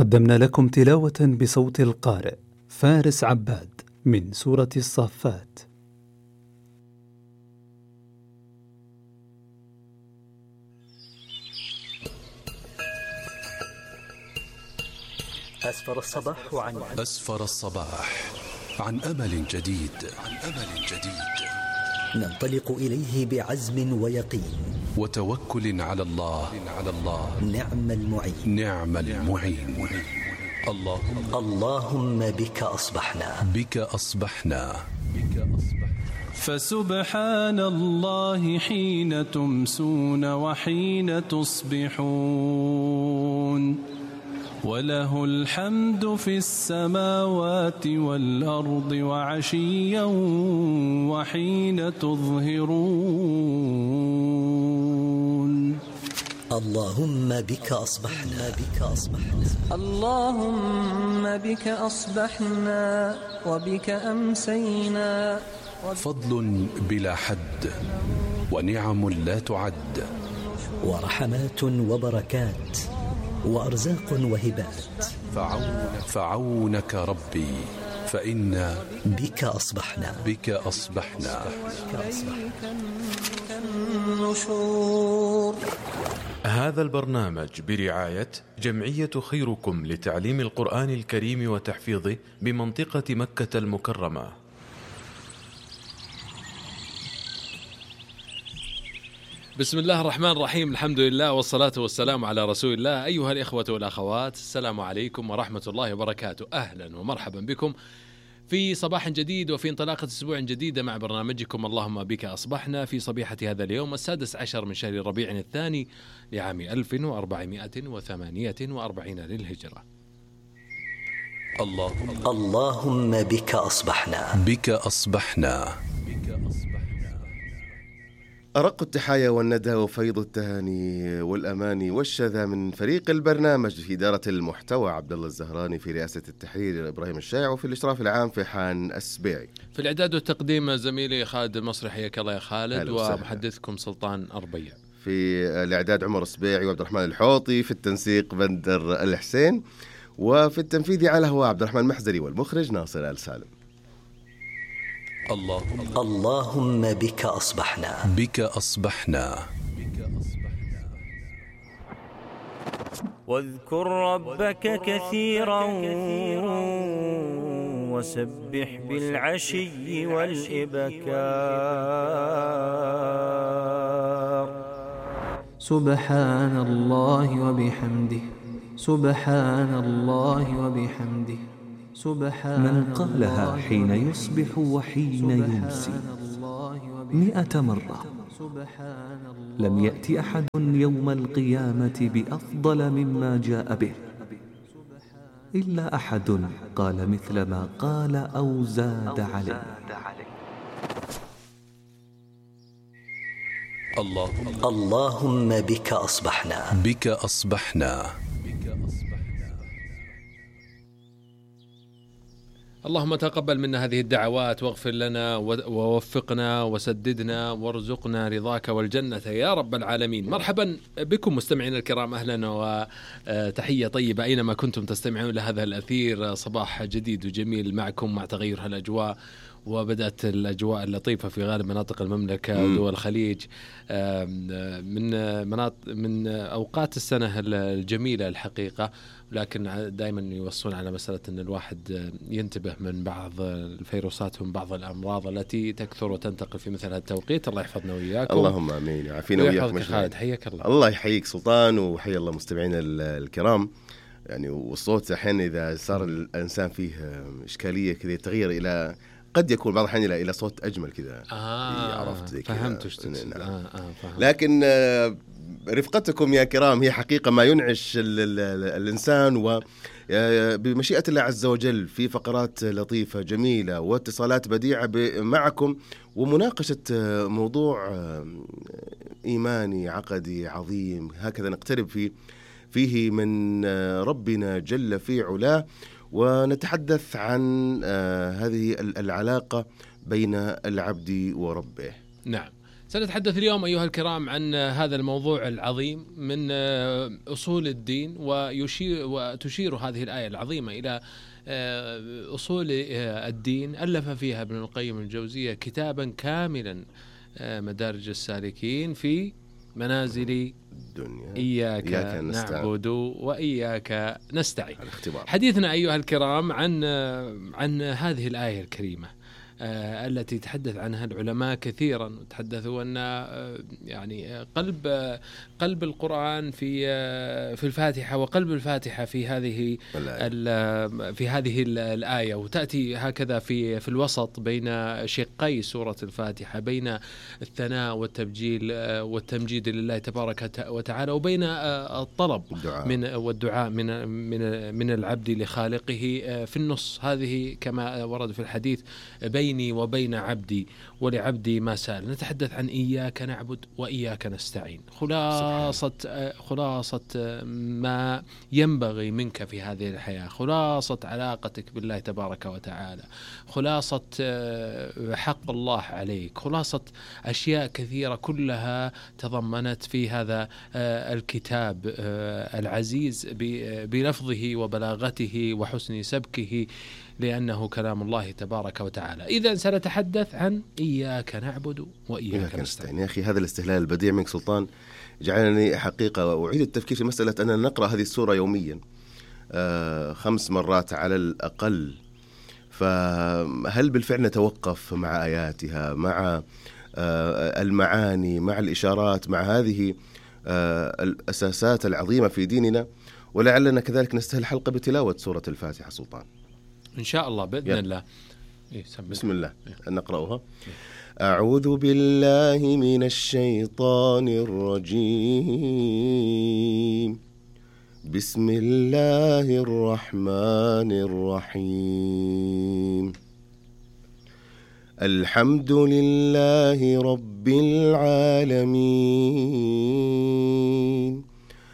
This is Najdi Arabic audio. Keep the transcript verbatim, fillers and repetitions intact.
قدمنا لكم تلاوة بصوت القارئ فارس عباد من سورة الصافات. أسفر الصباح عن أسفر الصباح عن أمل جديد عن أمل جديد ننطلق إليه بعزم ويقين وتوكل على الله على الله نعم المعين نعم المعين اللهم اللهم بك أصبحنا بك أصبحنا فسبحان الله حين تمسون وحين تصبحون وله الحمد في السماوات والأرض وعشيا وحين تظهرون. اللهم بك أصبحنا بك أصبحنا اللهم بك أصبحنا وبك أمسينا. فضل بلا حد ونعم لا تعد ورحمات وبركات وأرزاق وهبات فعونك, فعونك ربي فإنا بك أصبحنا بك أصبحنا النشور. هذا البرنامج برعاية جمعية خيركم لتعليم القرآن الكريم وتحفيظه بمنطقة مكة المكرمة. بسم الله الرحمن الرحيم، الحمد لله والصلاة والسلام على رسول الله. أيها الإخوة والأخوات، السلام عليكم ورحمة الله وبركاته. أهلا ومرحبا بكم في صباح جديد وفي انطلاقة أسبوع جديدة مع برنامجكم اللهم بك أصبحنا في صبيحة هذا اليوم السادس عشر من شهر ربيع الثاني لعام ألف وأربعمائة وثمانية وأربعين للهجرة. اللهم اللهم بك أصبحنا بك أصبحنا أرق التحايا والندى وفيض التهاني والأماني والشذا من فريق البرنامج في إدارة المحتوى عبد الله الزهراني، في رئاسة التحرير إبراهيم الشايع، وفي الإشراف العام فيحان السبيعي، في الإعداد والتقديم زميلي خالد المصري، حياك الله يا خالد، ومحدثكم سلطان أربيع. في الإعداد عمر السبيعي وعبد الرحمن الحوطي، في التنسيق بندر الحسين، وفي التنفيذ على هو عبد الرحمن المحزري، والمخرج ناصر آل سالم. اللهم اللهم بك أصبحنا بك أصبحنا واذكر ربك كثيرا وسبح بالعشي والإبكار. سبحان الله وبحمده سبحان الله وبحمده سبحان من قالها حين يصبح وحين يمسي مئة مرة لم يأتي أحد يوم القيامة بأفضل مما جاء به إلا أحد قال مثل ما قال أو زاد عليه. اللهم اللهم بك أصبحنا بك أصبحنا اللهم تقبل منا هذه الدعوات واغفر لنا ووفقنا وسددنا وارزقنا رضاك والجنة يا رب العالمين. مرحبا بكم مستمعين الكرام، أهلا وتحية طيبة أينما كنتم تستمعون لهذا الأثير. صباح جديد وجميل معكم مع تغير هالأجواء، وبدأت الأجواء اللطيفة في غالب مناطق المملكة ودول الخليج من مناطق من أوقات السنة الجميلة الحقيقة، لكن دائما يوصون على مسألة أن الواحد ينتبه من بعض الفيروسات ومن بعض الأمراض التي تكثر وتنتقل في مثل هذا التوقيت. الله يحفظنا وإياكم. اللهم آمين، يعافينا وإياكم. خالد حياك الله. الله يحييك سلطان، وحيا الله مستمعين الكرام. يعني والصوت أحيانا إذا صار الإنسان فيه إشكالية كذا يتغير إلى قد يكون بعض الحين إلى صوت أجمل كذا. آه عرفت زي كذا. فهمت وش تقصد. نعم. آه آه فهمت. لكن آه رفقتكم يا كرام هي حقيقة ما ينعش ال ال ال الإنسان، وبمشيئة الله عز وجل في فقرات لطيفة جميلة واتصالات بديعة معكم، ومناقشة موضوع إيماني عقدي عظيم هكذا نقترب فيه فيه من ربنا جل في علاه، ونتحدث عن هذه العلاقة بين العبد وربه. نعم، سنتحدث اليوم أيها الكرام عن هذا الموضوع العظيم من أصول الدين، ويشير وتشير هذه الآية العظيمة إلى أصول الدين. ألف فيها ابن القيم الجوزية كتابا كاملا، مدارج السالكين في منازل الدنيا، إياك, إياك نعبد وإياك نستعين. حديثنا أيها الكرام عن عن هذه الآية الكريمة التي تحدث عنها العلماء كثيرا، وتحدثوا أن يعني قلب قلب القرآن في في الفاتحة، وقلب الفاتحة في هذه في هذه الآية، وتأتي هكذا في في الوسط بين شقي سورة الفاتحة، بين الثناء والتبجيل والتمجيد لله تبارك وتعالى، وبين الطلب من والدعاء من من من العبد لخالقه في النص. هذه كما ورد في الحديث بين بيني وبين عبدي ولعبدي ما سأل. نتحدث عن إياك نعبد وإياك نستعين، خلاصة خلاصة ما ينبغي منك في هذه الحياة، خلاصة علاقتك بالله تبارك وتعالى، خلاصة حق الله عليك، خلاصة أشياء كثيرة كلها تضمنت في هذا الكتاب العزيز بلفظه وبلاغته وحسن سبكه، لأنه كلام الله تبارك وتعالى. إذن سنتحدث عن إياك نعبد وإياك نستعين. يا أخي هذا الاستهلال البديع منك سلطان جعلني حقيقة أعيد التفكير في مسألة أننا نقرأ هذه السورة يوميا آه خمس مرات على الأقل، فهل بالفعل نتوقف مع آياتها، مع آه المعاني، مع الإشارات، مع هذه آه الأساسات العظيمة في ديننا، ولعلنا كذلك نستهل حلقة بتلاوة سورة الفاتحة سلطان إن شاء الله بإذن يلا. الله. إيه بسم الله إيه. نقرأها. إيه. أعوذ بالله من الشيطان الرجيم. بسم الله الرحمن الرحيم. الحمد لله رب العالمين،